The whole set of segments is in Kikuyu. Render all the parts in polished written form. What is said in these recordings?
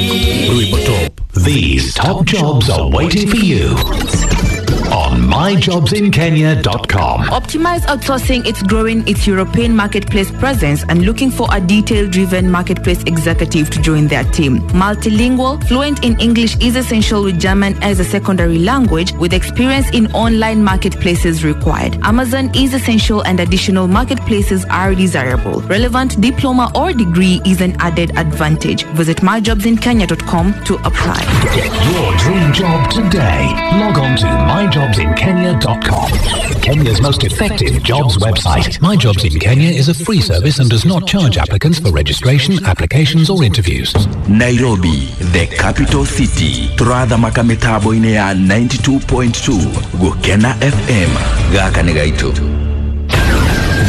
Rwimbo Top. These top jobs are waiting for you on myjobsinkenya.com. Optimize Outsourcing is growing its European marketplace presence and looking for a detail-driven marketplace executive to join their team. Multilingual, fluent in English is essential with German as a secondary language, with experience in online marketplaces required. Amazon is essential and additional marketplaces are desirable. Relevant diploma or degree is an added advantage. Visit myjobsinkenya.com to apply. Get your dream job today. Log on to myjobsinkenya.com. Kenya's most effective jobs website. My Jobs in Kenya is a free service and does not charge applicants for registration, applications, or interviews. Nairobi, the capital city. Turathamaka mitambo-inĩ ya 92.2 Gũkena FM. Gaka nĩ gaitũ.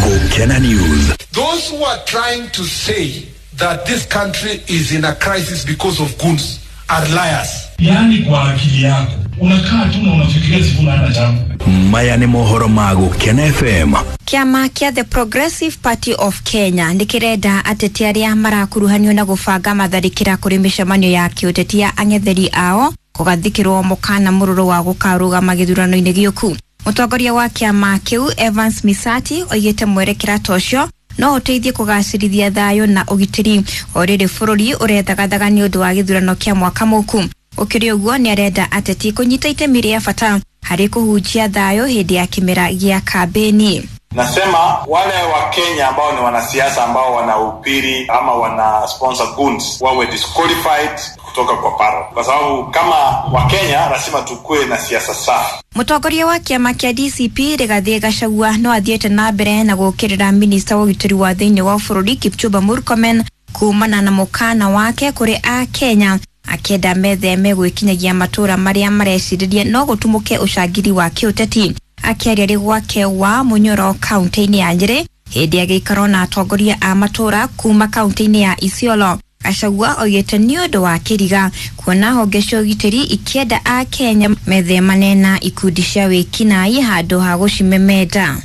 Gũkena News. Those who are trying to say that this country is in a crisis because of goons are liars. Yaani kwa akili yako unakaa tu na unafikiria Sifuna hana jambo. Maya nĩ mohoro ma Gũkena FM. Kĩama kĩa The Progressive Party of Kenya nĩ kĩrenda ateti arĩa marakuruhanio na gũbanga matharĩkĩra kũrĩ mĩcemanio ya kĩũteti ya ang'etheri ao kũgathĩkĩrwo mũkana mũrũrũ wa gũkarũgama gĩthurano-inĩ gĩũku. Mũtongoria wa kĩama kĩu Evans Misati oigĩte mwerekera ta ũcio no ũteithie kũgacĩrithia thayũ na ũgitĩri o rĩrĩ bũrũri ũrethagathaga nĩ ũndũ wa gĩthurano kĩa mwaka mũku. Ũkĩrĩ ũguo nĩ arenda ateti kũnyita itemi rĩa bata harĩ kũhunjia thayũ hĩndĩ ya kĩmera gĩa kambĩni. Nasema wale wa Kenya ambao ni wanasiasa ambao wanahubiri ama wana sponsor goons wawe disqualified kutoka kwa paro, kwa sababu kama Wakenya lazima tukue na siasa safi. Mũtongoria wa kĩama kĩa DCP Rigathĩ Gachagua no athiĩte na mbere na gũũkĩrĩra minista wa ũgitĩri wa thĩinĩ wa bũrũri Kipchumba Murkomen kumana na mũkana wake kũrĩ a Kenya akĩenda metheme gwĩkinyagia matũra marĩa marecirĩria no gũtumũke ũcangiri wa kĩũteti. Akĩaria rĩ gwake wa Munyoro kaunti-inĩ ya Nyĩrĩ hĩndĩ ya gĩikaro na atongoria a matũra kuma kaunti-inĩ ya Isiolo. Gachagua oigĩte nĩ ũndũ wa kĩriga kuona honge cia ũgitĩri ikĩenda a Kenya methemane na ikundi cia wĩkinaĩ handũ ha gũcimemenda.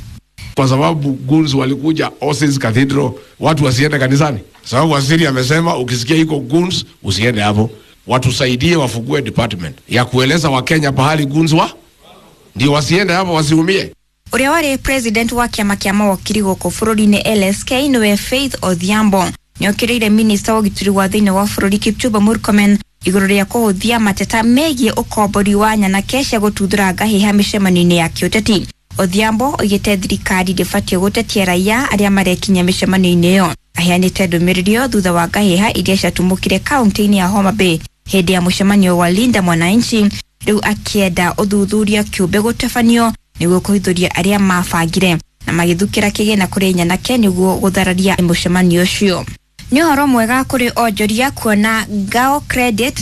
Kwa sababu goons walikuja Osis Cathedral, watu wasiende kanisani, sababu waziri amesema ukisikia iko goons usiende hapo. Watusaidie wafungue department ya kueleza Wakenya pahali goons wa ndio wasiende hapo wasiumie. Ũrĩa warĩ president wa kĩama kĩa mawakiri gũkũ bũrũri-inĩ LSK nĩwe Faith Odhiambo nĩokĩrĩire minista wa ũgitĩri wa thĩinĩ wa bũrũri Kipchumba Murkomen igũrũ rĩa kũhũthia mateta megiĩ ũkombori wa nyanake cia gũtuthũra ngahĩha mĩcemanio-inĩ ya kĩũteti. Odhiambo oigĩte thirikari ndĩbatiĩ gũtetia raia arĩa marekinya mĩcemanio-inĩ ĩyo. Aheanĩte ndũmĩrĩri ĩyo thutha wa ngahĩha iria ciatumũkire kaunti-inĩ ya Homa Bay hĩndĩ ya mũcemanio wa Linda Mwananchi, rĩu akĩenda ũthuthuria kĩũmbe gũtabanio nĩguo kũhithũria arĩa mabangire na magĩthukĩra kĩgĩna kũrĩ nyanake nĩguo gũthararia mũcemanio ũcio. Nĩ ũhoro mwega kũrĩ onjoria kuona Ngao Credit.